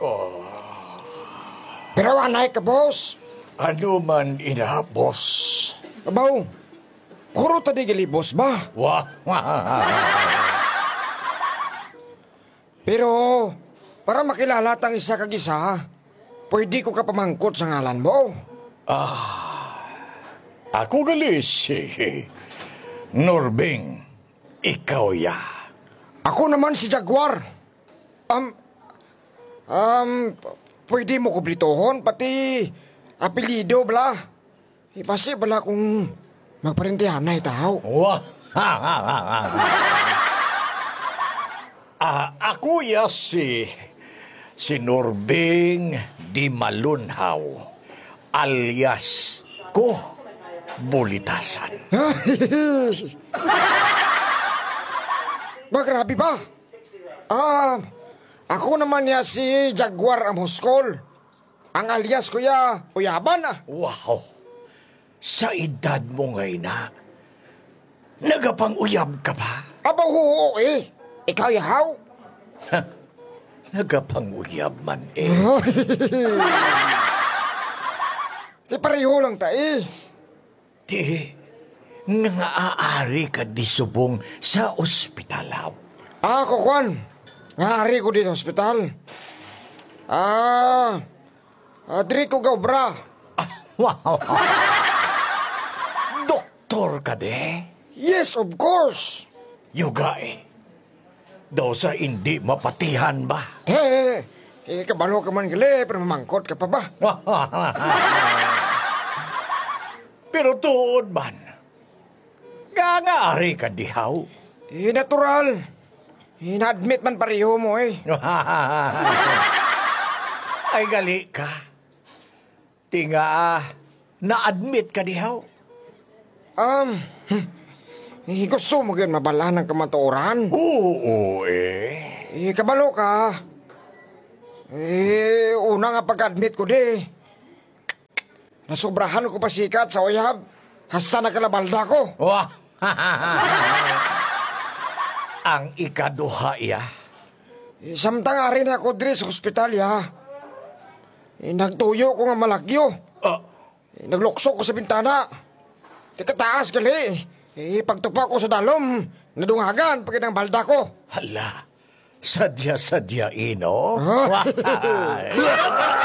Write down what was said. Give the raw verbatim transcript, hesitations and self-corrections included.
Oh. Pero anay ka, boss. Ano man ina, boss? Abaw, kuro ta di gali, boss, ba? Wa-, Pero, para makilala tang isa kag isa, pwede ko ka pamangkot sa ngalan mo? Ah, ako gali si Norbing. Ikaw ya. Ako naman si Jaguar. Um, um, p-, pwede mo kumplituhon, pati apelyido, bala. Ipasi bala kung magparintihan na itaw. Wa-, Ah, ako ya si, si Norbing Di Malunhaw, alias ko Bulitasan. Ba, grabe ba? Ah, ako naman ya si Jaguar Amoscol. Ang alias ko ya, Uyaban, ah. Wow! Sa edad mo nga ina, nagapang-uyab ka pa? Aba, oo, eh. Ikaw, yahaw? Nagapang-uyab man, eh. Di pareho lang ta, eh. Ti, nga ari ka di subong sa ospital, haw? Ah, ako, kwan. Nga ari ko di sa ospital. Ah, ah, diri ko gaobra. Wow. Doktor ka di? Yes, of course. Yuga, eh. Daw sa indi mapatihan ba? Eh, eh, kabalo ka man gali, pero mamangkot ka pa ba? Pero tuod man, nga, nga ari ka dihaw? Eh, natural. Eh, na-admit man pareho mo, eh. Ay, gali ka. Ti nga, na-admit ka dihaw? Um, hmm. Eh, gusto mo gyud mabalaan ang kamatuoran? Oo, eh. Eh, kabalo ka. Eh, una nga pag-admit ko di, nasobrahan ko pasikat sa uyab. Hasta nagkalabalda ko. Wah! Ang ikaduha, iya. Eh, samtang ari na ako diri sa ospital, ya. Eh, nagtuyo ko nga malagyo. Ah. Eh, naglukso ko sa bintana. Ti kataas gali. Eh, pagtupa ko sa dalom, nadungagan pa gid ang balda ko. Hala, sadya-sadya, ino? Ah. Wah!